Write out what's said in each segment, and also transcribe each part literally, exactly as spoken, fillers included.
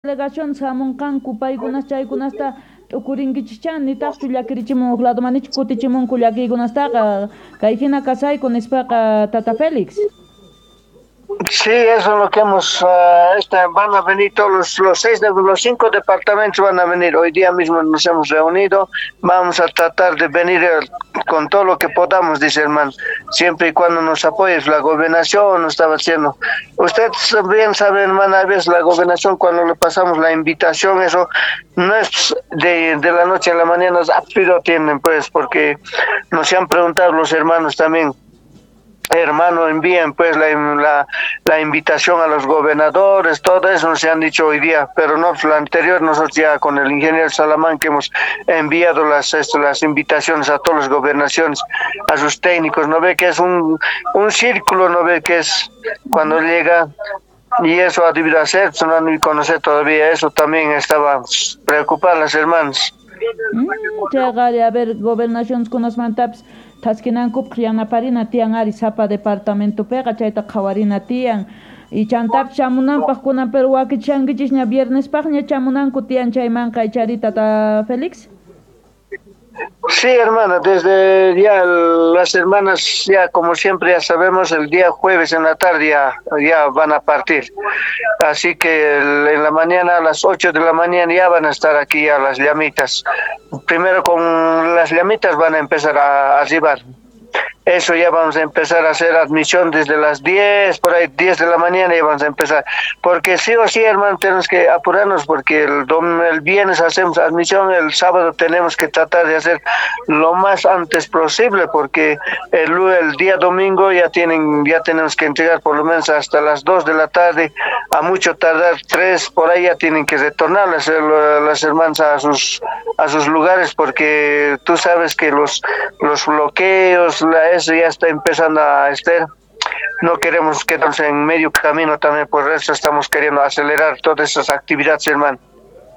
Delegación hamunqanku paykunas chaykunasta t'ukurinkichikcha nitaqchu llakirichimun huk ladomanichu kutichimunku llakiykunastaqa kay hina kasayku nispaqa Tata Félix. Sí, eso es lo que hemos, uh, este, van a venir todos los, los seis, de, los cinco departamentos van a venir. Hoy día mismo nos hemos reunido, vamos a tratar de venir con todo lo que podamos, dice hermano, siempre y cuando nos apoye la gobernación, nos estaba haciendo. Usted bien sabe, hermano, a veces la gobernación cuando le pasamos la invitación, eso no es de, de la noche a la mañana, rápido tienen, pues, porque nos han preguntado los hermanos también. Hermano, envíen pues la, la, la invitación a los gobernadores, todo eso nos han dicho hoy día, pero no, pues, la anterior nosotros ya con el ingeniero Salamán que hemos enviado las, esto, las invitaciones a todas las gobernaciones, a sus técnicos, no ve que es un, un círculo, no ve que es cuando llega, y eso ha debido hacer, pues, no han debido conocer todavía, eso también estaba preocupadas las hermanas. Mm, a ver, gobernaciones con los mantapis thaskinankupaq yanaparina tiyan ari sapa departamentopiqa chayta qhawarina tiyan y chantapis chamunanpaq kunan pero wakichankichikña viernespaqña chamunanku tiyan chaymanqa ichari Tata Félix. Sí, hermana, desde ya las hermanas, ya como siempre ya sabemos, el día jueves en la tarde ya, ya van a partir. Así que el, en la mañana, a las ocho de la mañana ya van a estar aquí a las llamitas. Primero con las llamitas van a empezar a arribar. Eso ya vamos a empezar a hacer admisión desde las diez, por ahí diez de la mañana ya vamos a empezar. Porque sí o sí, hermano, tenemos que apurarnos porque el, dom, el viernes hacemos admisión, el sábado tenemos que tratar de hacer lo más antes posible porque el, el día domingo ya tienen, ya tenemos que entregar por lo menos hasta las dos de la tarde, a mucho tardar tres, por ahí ya tienen que retornar las, las hermanas a sus, a sus lugares porque tú sabes que los, los bloqueos, la eso ya está empezando a estar. No queremos quedarnos en medio camino también, por eso estamos queriendo acelerar todas esas actividades, hermano.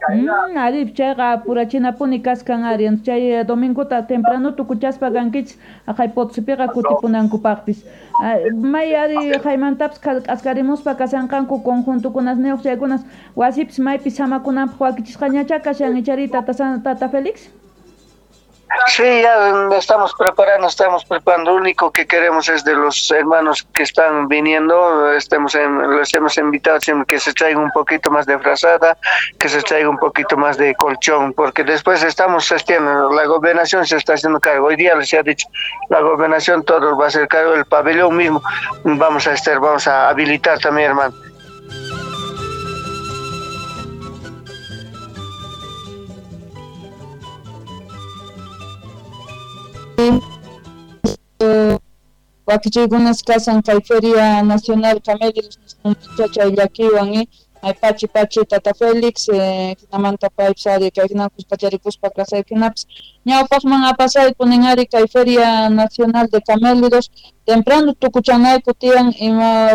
Mm, arip chayqa apurachinapuni kaskan ari chay domingota temprano tukuchaspa kankichis aqhay Potosipiqa kutipunankupaqpis. May ari haymantapis k'askarimuspa kasanqanku conjuntokunasniyuq chaykunas wasipis maypis samakunanpaq wakichisqañacha kashan ichari tata, tata Félix. Sí, ya estamos preparando, estamos preparando. Lo único que queremos es de los hermanos que están viniendo, estemos en, los hemos invitado que se traiga un poquito más de frazada, que se traiga un poquito más de colchón, porque después estamos haciendo, la gobernación se está haciendo cargo. Hoy día les ha dicho, la gobernación todo va a hacer cargo, el pabellón mismo vamos a estar, vamos a habilitar también, hermano. Wakichiykunas kasan kay Feria Nacional Camélidos chay llakiywan eh pachi pachi Tata Félix eh jinamanta paypis ari kay hina kuskacharikuspa kasaykunapis ñawpaqman apasayku nin ari kay Feria Nacional de Camélidos temprano tukuchanayku tiyan ima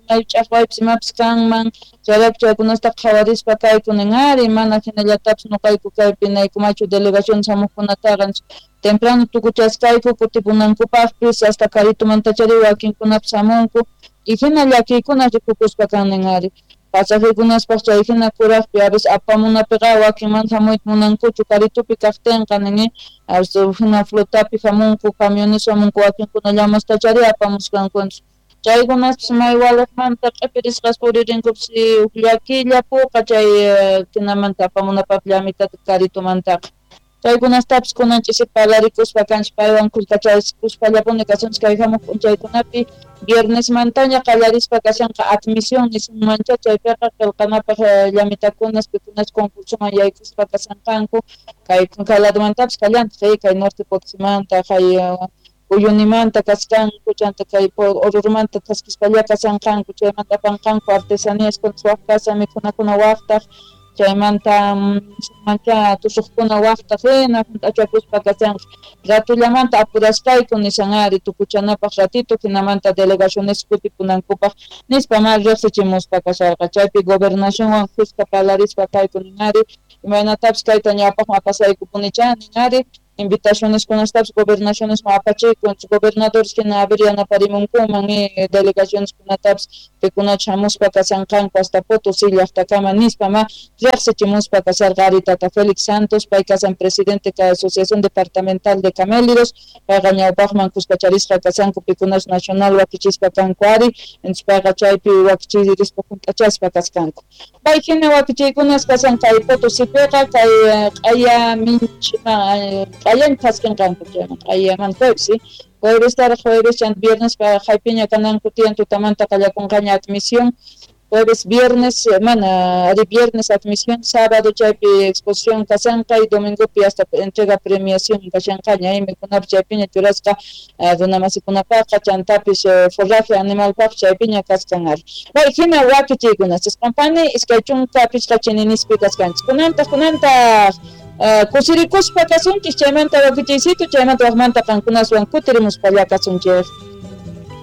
may ch'aqwaypis imapis kanman chayrayku chaykunasta qhawarispa kayku nin ari mana hinallatapis nuqayku kaypi naykumachu delegación hamuqkunataqa temprano tukuchaskayku kutipunankupaqpis hasta Caritumantachari wakinkunapis hamunku y hina llakiykuna rikukuspa kan nin ari pasajekunaspaq chay hina kuraqpi a veces apamunapiqa wakin mana hamuyta munankuchu Caritupi kaqtinqa nin a veces hina flotapi hamunku camiones hamunku wakinkuna llamastachari apamusqanku chaykunaspis may waliqmanta q'ipirisqas puririnkupis huk llakilla puqa chay hinamanta apamunapaq llamitata Caritumantaqa chaykunastapis kunan ch'isi parlarikuspa kanchik paywan kuskachaykuspallapuni kasunchik kay hamuq p'unchaykunapi viernesmantaña qallarispa kashanqa admisión nisunmancha chaypiqa qillqanapaq llamitakunas pikunas concursoman yaykuspa kasanqanku kay kay ladomantapis kallantaq kay Norte Potosimanta kay Uyunimanta kaskanku chanta kay Orurumanta thaskispalla kasanqanku chaymanta apanqanku artesanías kunas waq kasa mikhunakuna waqtaq chaymanta mancha tusuqkuna waqtaq hina hunt'achakuspa kasanqa ratullamanta apurasqayku nisan ari tukuchanapaq ratito hinamanta delegaciones kutipunankupaq nispa ma riqsichimuspa kasharqa chaypi gobernacionwan kuska parlarispa kayku nin ari imaynatapis kayta ñawpaqman apasaykupunicha nin ari Invitaciones kunastapis gobernaciones apachikun gobernadores hina a ver yanaparimunkuman delegaciones kunatapis pikunach hamuspa kashanqanku hasta Potosí llaqtakama nispa ma riqsichimuspa kasharqa ari tata Félix Santos pay kasan presidente ka Asociación Departamental de Camélidos payqa ñawpaqman kuskacharisqa kashanku pikunach nacional wakichispa kanku ari entonces payqa chaypi wakichirispa hunt'achaspa kaskanku pay hina wakichiykunas kasan kay Potosípiqa kay q'aya minchima q'ayan khaskinqanku chayman q'ayaman jueves jueves taraq jueves chanta viernes haypiña kananku tiyan tutamanta qallakunqaña admisión jueves viernes mana ari viernes admisión sábado chaypi exposición kashanqa y domingopi hasta entrega premiación kashanqaña mikhunapis chaypiña churasqa runamasikunapaqqa chantapis forraje animalpaq chaypiña kaskan ari pay hina wakichiykunas chisqanpani iskay chunka pichqa chininispi kaskanchis kunantaq kunantaq kusirikuspa kasunchis chaymanta wakichiysitu chaymanta waqmanta qankunaswan kutirimuspalla kasunchis.